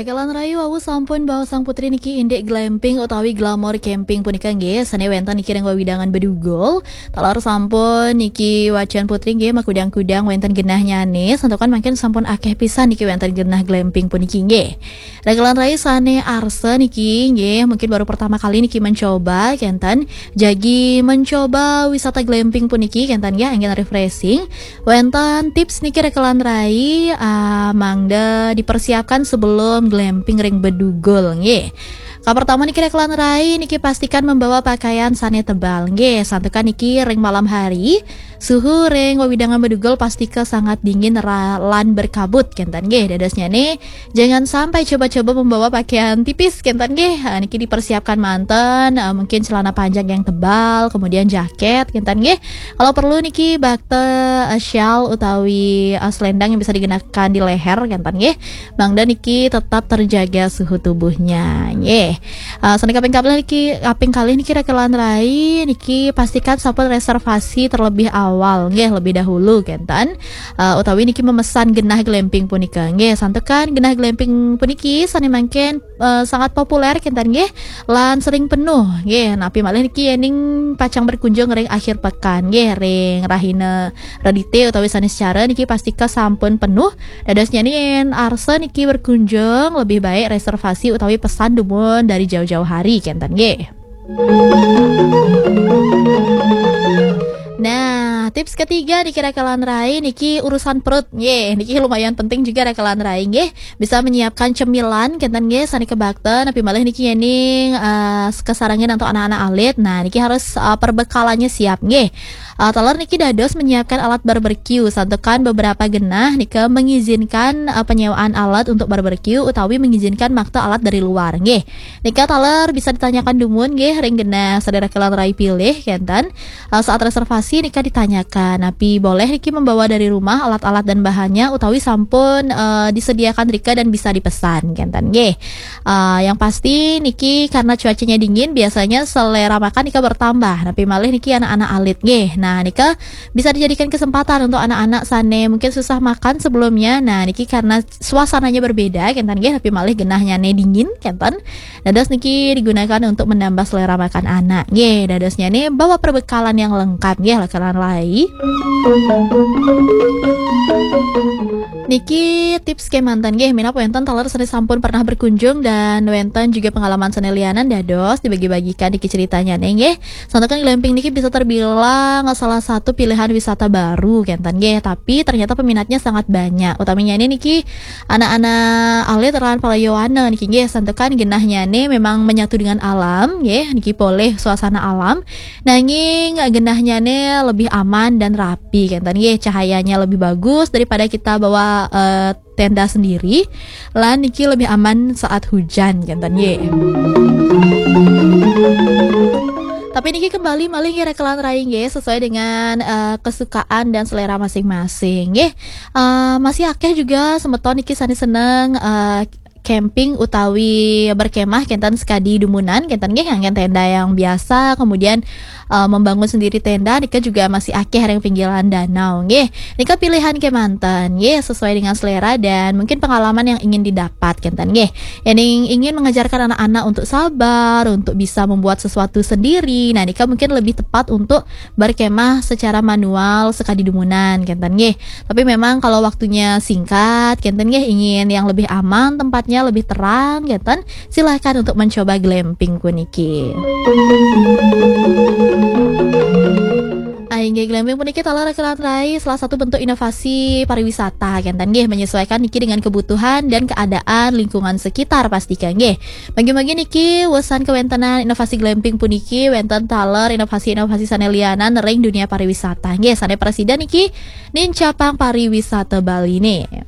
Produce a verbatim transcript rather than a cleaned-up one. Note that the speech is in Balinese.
Rekelan rayi wau sampun baosang putri niki indik glamping utawi glamour camping punika nggih, sane wenten niki ring wewidangan Bedugul. Taler sampun niki wacan putri nggih makudang-kudang wenten genahnyane, santukan mangkin sampun akeh pisan niki wenten genah glamping puniki nggih. Rekelan rayi sane arsa niki nggih, mungkin baru pertama kali niki mencoba kenten, jagi mencoba wisata glamping puniki kenten nggih, anggen refreshing. Wenten tips niki rekelan rayi, ah, mangda dipersiapkan sebelum glamping ring Bedugul nggih. Kapertama niki rekelan rayi niki pastikan membawa pakaian sane tebal nggih. Santukan niki ring malam hari, suhu ring wewidangan Bedugul pastika sangat dingin ra-, lan berkabut kenten nggih. Dadosnyane jangan sampai coba-coba membawa pakaian tipis kenten nggih. Ah, niki dipersiapkan manten, ah, mungkin celana panjang yang tebal, kemudian jaket kenten nggih. Kalau perlu niki bakte, eh, shawl utawi, eh, selendang yang bisa dikenakan di leher kenten nggih. Mangda niki tetap terjaga suhu tubuhnya nggih. Eh, sane kaping kalih niki, kaping kalih niki rekelan rayi niki pastikan sampun reservasi terlebih awal nggih, lebih dahulu kenten. Eh, utawi niki memesan genah glamping punika nggih. Santukan genah glamping puniki sane mangkin, eh, sangat populer kenten nggih. Lan sering penuh nggih. Napi malih niki yening pacang berkunjung ring akhir pekan nggih, ring rahina Redite utawi Saniscara niki pastika sampun penuh. Dadosnyane yen arsa niki berkunjung, lebih baik reservasi utawi pesan dumun dari jauh-jauh hari kenten nggih. Nah, tips ketiga niki rekelan rayi niki urusan perut nggih. Niki lumayan penting juga rekelan rayi nggih. Bisa menyiapkan cemilan kenten nggih, sane kebakten, napi malih niki yening, eh, kasarengin antuk anak-anak alit. Nah, niki harus, eh, perbekalannya siap nggih. Eh, taler niki dados menyiapkan alat barbeque, santukan beberapa genah nika mengizinkan, eh, penyewaan alat untuk barbeque utawi mengizinkan makta alat dari luar nggih. Nika taler bisa ditanyakan dumun nggih ring genah sane rekelan rayi pilih kenten. Eh, saat reservasi nika ditanyakan, napi boleh niki membawa dari rumah alat-alat dan bahannya utawi sampun, eh, disediakan rika dan bisa dipesan kenten nggih. Eh, yang pasti niki karena cuacanya dingin, biasanya selera makan nika bertambah. Napi malih niki anak-anak alit nggih. Nah, nika bisa dijadikan kesempatan untuk anak-anak sane mungkin susah makan sebelumnya. Nah, niki karena suasananya berbeda kenten nggih, napi malih genahnyane dingin kenten. Dados niki digunakan untuk menambah selera makan anak. Nggih, dadosnyane bawa perbekalan yang lengkap nggih, rekelan rayi. Niki tips kemanten nggih, minab wenten taler sane sampun pernah berkunjung dan wenten juga pengalaman sane lianan, dados dibagi-bagikan niki ceritanyane nggih. Santukan glamping niki bisa terbilang salah satu pilihan wisata baru kenten nggih, tapi ternyata peminatnya sangat banyak. Utamanya ini niki anak-anak alit lan para yowana niki nggih, santukan genahnyane memang menyatu dengan alam nggih, niki polih suasana alam. Nanging genahnyane lebih aman dan rapi kenten nggih, cahayanya lebih bagus daripada kita bawa, eh, tenda sendiri. Lan niki lebih aman saat hujan kenten nggih. Tapi niki kembali malih nggih rekelan rayi nggih, sesuai dengan, eh, kesukaan dan selera masing-masing nggih. Eh, masih akeh juga semeton niki sane seneng, eh, camping utawi berkemah kenten sekadi dumunan kenten nggih, nganggen tenda yang biasa, kemudian, eh, membangun sendiri tenda nika juga masih akeh ring pinggiran danau nggih. Nika pilihan kemanten nggih, sesuai dengan selera dan mungkin pengalaman yang ingin didapat kenten nggih. Yang ingin mengajarkan anak-anak untuk sabar, untuk bisa membuat sesuatu sendiri. Nah, nika mungkin lebih tepat untuk berkemah secara manual sekadi dumunan kenten nggih. Tapi memang kalau waktunya singkat kenten nggih, ingin yang lebih aman, tempatnya lebih terang kenten, silahkan untuk mencoba glamping puniki. Ah, inggih, glamping puniki taler rekelan rayi salah satu bentuk inovasi pariwisata kenten nggih, menyesuaikan niki dengan kebutuhan dan keadaan lingkungan sekitar pastika nggih. Mangkin-mangkin niki wesan kewentenan inovasi glamping puniki wenten taler inovasi-inovasi sane lianan ring dunia pariwisata nggih, sane presida niki nincapang pariwisata Bali ne.